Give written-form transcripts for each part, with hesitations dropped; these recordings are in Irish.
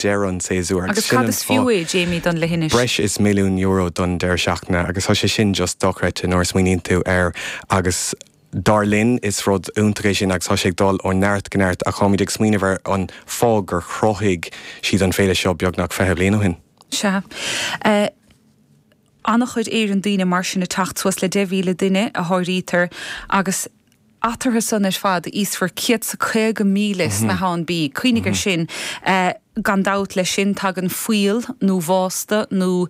Deireadh an tséasúir agus Agus cad is fiú é, Jamie, don leithinis? Breis is €1 milliún don deireadh seachtaine agus tá sé sin just dochreidte nuair a smaoiníonn tú air agus dar linn is rud iontach é sin agus tá sé ag dul ó neart go neart ach táimid ag smaoineamh ar an fáth gur chruthaigh siad an féile seo beagnach 20 bliain ó shin. Sea. An-chuid Éireann daoine mar sin ag teacht suas le 10,000 duine a háirítear agus eatarthu san ar fad íosfar 150,000 snáitheán bídh. Cuimhnigh ar sin. Gan dabht leis sin tagann fuíoll nó vásta nó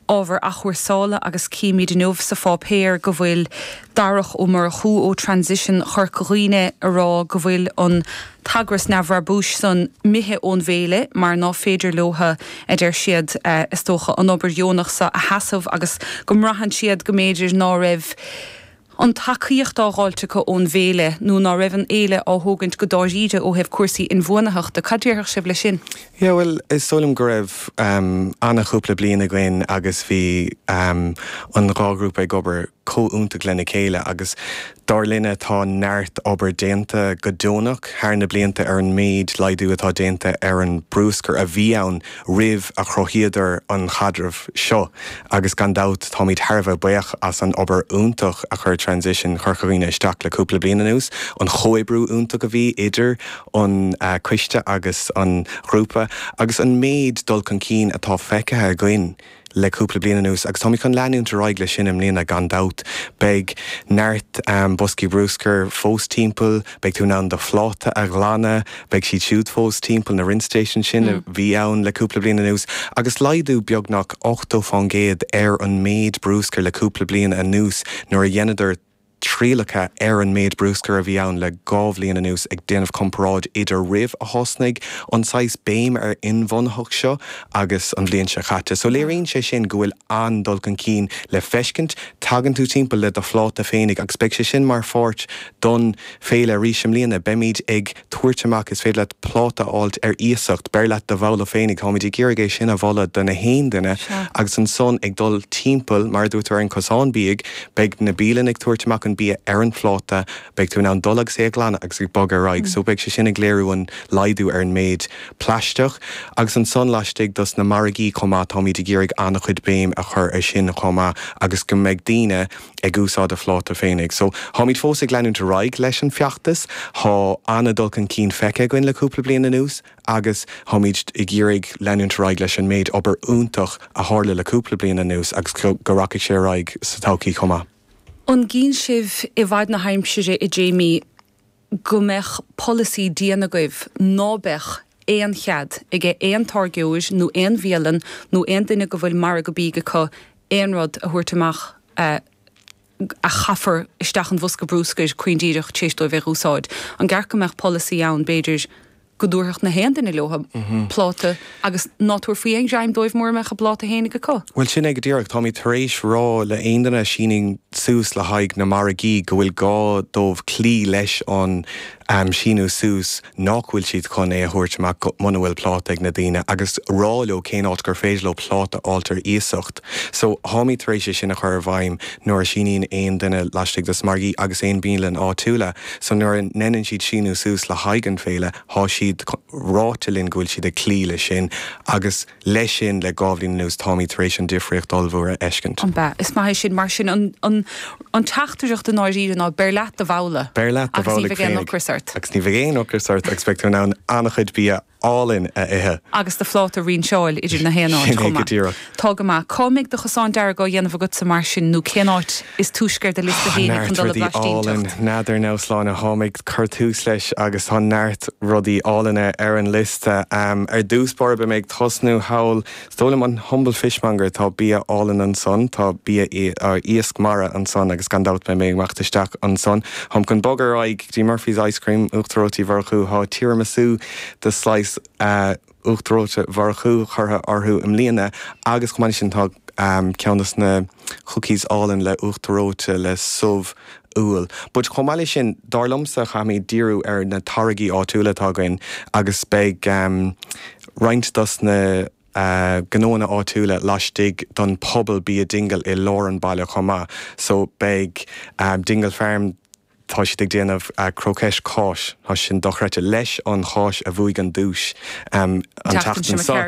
ábhar athchúrsála agus címid inniu sa pháipéar go bhfuil Darach Ó Murchú ó Transition Chorca Dhuibhne a rá go bhfuil an t-eagras neamhbhrabúis san imithe ón bhféile mar ná féidir leotha, a deir siad, is dócha, an obair dheonach so a sheasamh agus go mbraitheann siad go mb'fhéidir ná raibh an tacaíocht á dh'fháilt acu ón bhféile nó ná raibh an fhéile á thógaint go dáiríre ó thaobh cúrsaí inbhuanaitheachta. Cad déarfadh sibh leis sin? Yeah, bhuel, is dóigh liom go raibh an-chúpla bliain againn agus bhí an dhá ghrúpa ag obair chomh iontach lena chéile agus dar linne tá neart obair déanta go deonach thar na blianta ar an méid laghdú atá déanta ar an brúscar a bhí ann roimh a chruthaíodar an chaidreamh seo agus gan dabht táimid thar a bheith buíoch as an obair iontach a chuir Transition Chorca Dhuibhne isteach le cúpla bliain anuas, an chomhoibriú iontach a bhí idir an coiste agus an ghrúpa agus an méid dul chun cinn atá feicthe againn. le cúpla bliain anuas agus táimid chun leanúint ar aghaidh leis sin i mbliana gan dabht. Beidh neart boscaí brúscair fós timpeall, beidh tú in ann do phláta a ghlanadh, beidh siad siúd fós timpeall, na rinse stations sin a bhí ann le cúpla bliain anuas agus laghdú beagnach 80% ar an méid brúscair le cúpla bliain anuas nuair a dheineadar trialacha ar an méid brúscair a bhí ann le 2 bhliain anuas ag déanamh comparáid idir roimh a thosnaigh an saghas béim ar inbhuanaitheacht seo agus an bhliain seo chaite. So léiríonn sé sin go bhfuil an-dul chun cinn le feiscint. Tagann tú timpeall le do phláta féinig agus beidh sé sin mar pháirt don féile arís i mbliana. Beimid ag tabhairt amach, is féidir leat pláta a fháilt ar iasacht, beir leat do bhabhla féinig, táimid ag iarraidh é sin a mholadh do na haon duine agus ansan ag dul timpeall, mar a dúirt tú ar an cosán bídh, beidh na bialanna ag tabhairt amach an bia ar an phláta, beidh tú in ann dul agus é a ghlanadh agus ag bogadh ar aghaidh. So beidh sé sin ag léiriú an laghdú ar an méid plaisteach agus ansan laistigh dos na margaí chomh maith, táimid ag iarraidh an-chuid béim a chur ar sin chomh maith agus go mbeidh daoine ag úsáid a phláta féinig. So, tháimid fós ag leanúint ar aghaidh leis an feachtas. Thá an-dul chun cinn feicthe againn le cúpla bliain anuas agus tháimid ag iarraidh leanúint ar aghaidh leis an méid obair iontach a tharla le cúpla bliain anuas agus go rachaidh sé ar aghaidh sa todhchaí chomh maith. An gcíonn sibh i bhfad na haimsire, a Jamie, go mbeadh polasaí dian agaibh ná beadh aon chead aige aon táirgeoir nó aon bhialann nó aon duine go bhfuil margadh bídh acu aon rud a thabhairt amach a chaithfear isteach an bhosca brúscair caoin díreach tar éis dóibh é dh'úsáid. An gceart go mbeadh polasaí ann, b'fhéidir, go dtabharfadh na haon duine leo pláta agus ná tabharfaí aon ghreim dóibh mura mbeadh a bpláta fhéinig acu. Bhuel, sin é go díreach. Táimid tar éis rá le aon duine a síníonn suas le haghaidh na margaí go bhfuil gá dóibh cloí leis an síniú suas nach bhfuil siad chun é a thabhairt amach muna bhfuil pláta ag na daoine agus rá leo cén áit gur féidir leo pláta a fháilt ar iasacht. So, tháimid tar éis é sin a chur i bhfeidhm nuair a síníonn aon duine laistigh dos margaí agus aon bialann áitiúla. So nuair a ndeineann siad síniú suas le haghaidh an féile, thá siad ráite linn go bhfuil siad ag cloí leis sin agus leis sin le 2 bhliain anuas táimid tar éis an difríocht ollmhór a fheiscint. An b'ea? Is maith é sin. Mar sin an an an teachtaireacht i ndáiríre ná beir leat do bhabhla. Beir leat do Agus ní bhabhla bheidh aon ocras ort. Agus ní bheidh aon ocras ort agus beidh tú in ann an-chuid bia álainn a ithe. Agus do phláta a rinseáil idir na haon áit Sin é chomh go maith. díreach. Tá go maith. Cá mbeidh do chosán dearg á dhéanamh agatsa mar sin nó cén áit is túisce ar do liosta féinig Neart chun dul le rudaí álainn. blaistín teacht? N'fheadar now Sláine, tháim ag cur tús leis agus tá neart rudaí álainne ar an liosta. Ar dtús báire beidh mé ag tosnú thall, is dóigh liom an Humble Fishmonger, tá bia álainn ansan, tá bia iasc mara ansan agus gan dabht beidh mé ag imeacht isteach ansan. Táim chun bogadh ar aghaidh go dtí Murphy's Ice Cream, Uachtar Reoite Uí Mhurchú, tá tiramisu de slice Uachtar Reoite Mhurchú curtha orthu i mbliana agus chomh maith leis sin tá ceann dos na cookies álainn le uachtar reoite le subh úll. But chomh maith leis sin, dar liomsa caithfimid díriú ar na táirgí áitiúla atá againn agus beidh roinnt dos na gnóanna áitiúla laistigh don Phuball Bia Dingle i lár an baile chomh maith. So beidh Dingle Farm. Tá siad ag déanamh croquettes cáis, tá sin dochreidte, leis an cháis a bhuaigh an duais an tseachtain seo.